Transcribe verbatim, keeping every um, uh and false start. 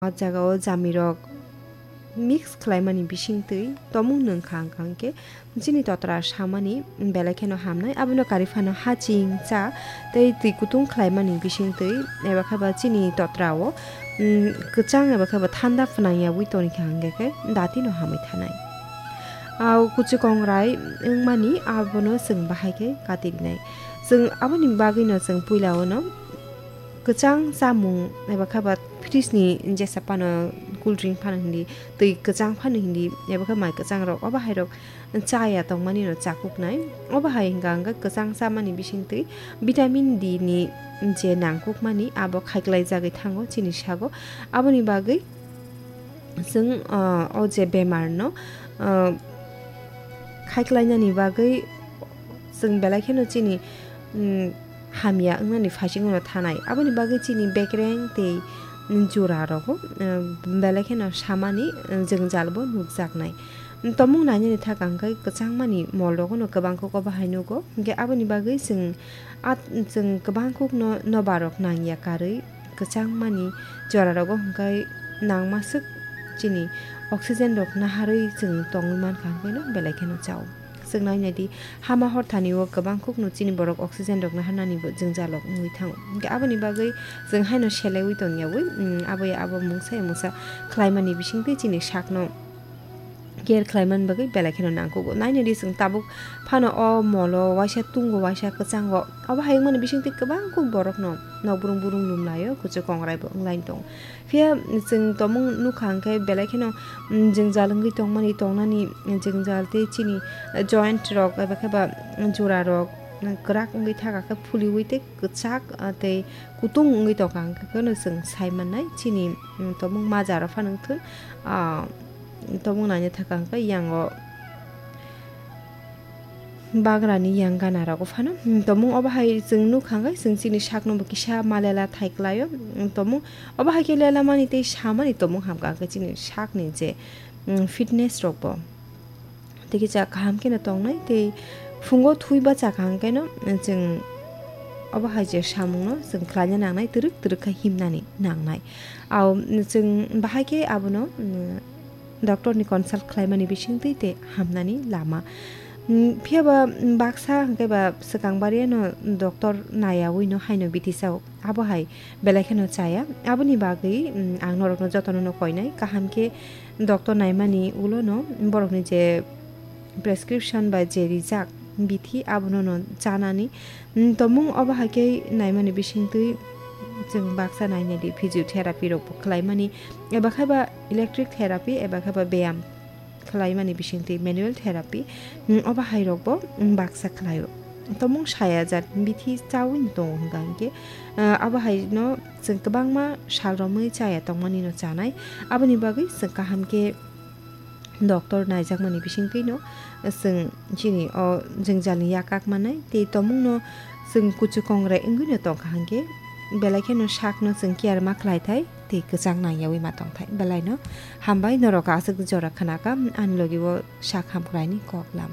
O jagao jamirok mix khlaimani bisingtwi tomung nwng kha hwnkha hwnkhe chini totra samani belai kheno hamnai, abono kari phano haching cha tei twi kutung khlaimani bisingtwi eba khe ba chini totrao, mm, kwchang eba khe ba thanda phnangyawi toni kha hwnkhe khe datino hamwi thanai. Au kuchu kongrai wngmani abono chwng bahai khe katirinai. Chwng aboni bagwino chwng puilao no kwchang chamung eba khe ba fridge ni jesa phano cool drink phano hindi, twi kwchang phano hindi, eba khe mai kwchang rok, obo hai rok chaya tongmani no chakuknai. Obo hai hwnkha hwnkhe kwchang chamani bisingtwi vitamin D ni je nangkukmani abo khaiklai jagwi thango chini sago. Aboni bagwi chwng, ah, o je bemar no, ah, khaiklainani bagwi chwng belai kheno chini, mm, hamya wngnani phaisingo no thanai. Aboni bagwi chini bekreng tei jora rogo, eh, belai kheno samani, eh, jwngjal bo nukjaknai. Tomung nainani thaka hwnkhe kwchangmani mol rogo no kwbang khe obo hai nugo. Hwnkhe aboni bagwi chwng at-, chwng kwbang kuk no nobar rok nangya karwi kwchangmani jora rogo hwnkhe nangma swk chini oxygen rok naharwi chwng tongwi mankha hwnkhe no belai kheno chao. Chwng nainai di, hama hor thani o kwbang kuk no chini borok oxygen rok naharnani bo jwngjal rok wngwi thango. Hwnkhe aboni bagwi chwng haino selaiwi tongyawi, mm, abo ya abo mungsa ya mungsa khlaimani bisingtwi chini sakno care khlaimani bagwi belai kheno nangkugo. Nainai di chwng tabuk phano o molo waisa tungo, waisa kwchango. Obo hai wngmani bisingtwi kwbang kuk borokno nok burung burung lumlaio, kuchuk kongrai bo wnglaini tongo. Phiya chwng tomung nukha hwnkhe belai kheno, mm, jwngjal wngwi tongmani, tongnani jwngjal tei chini joint rok eba khe ba jora rok kwrak wngwi thaka khe phuliwi tei kwchak, ah, tei kutung wngwi tongkha hwnkhe kheno chwng sai mannai. Chini, mm, tomung majaro phano wngthun, ah, tomung naina thaka hwnkhe yango bagrani yang gana rogo phano. Hmm, tomung obo hai chwng nukha hwnkhe chwng chini sakno bo kisa ma lela thai klaio. Hmm, tomung obo hai khe lela mani tei samani tomung hamkha hwnkhe chini sakni je, hmm, fitness rok bo. Tei kisa kaham kheno tongnai tei phungo thwi bachakha hwnkhe no chwng obo hai je samungno chwng khlaina nangnai, twrwk twrwk khe himnani nangnai. Au chwng bahai khe abono, hmm, doctor ni consult khlaimani bisingtwi tei hamnani lama. Mm, phiya ba, mm, baksa hwnkhe ba swkang bariano doctor naiyawi no haino bithi sao. Abo hai belai kheno chaya. Aboni bagwi, mm, ang norokno jotono no koinai. Kaham khe doctor naimani ulo no borokni je prescription bai je rijak bithi abono no chanani. Mm, tomung obo hai khe naimani bisingtwi chwng baksa nainai di physiotherapy rok bo khlaimani eba khe ba electric therapy eba khe ba beyam khlaimani bisingtwi manual therapy, mm, obo hai rok bo, mm, baksa khlaio. Tomung saya jat bithi chawi no tongo hwnkha hwnkhe, ah, abo hai no chwng kwbangma sal romwi chaya tongmani no chanai. Aboni bagwi chwng kaham khe doctor naijakmani bisingtwi no chwng chini o jwngjalni yak kak manai tei tomungno chwng kuchu kongrai wngwi no tongkha hwnkhe belai kheno sakno chwng care ma khlai thai tei kwchang nangyawi ma tong thai. Belai no hambai, norok aswk jora khna kha ani logi o sak hamkraini kok lam.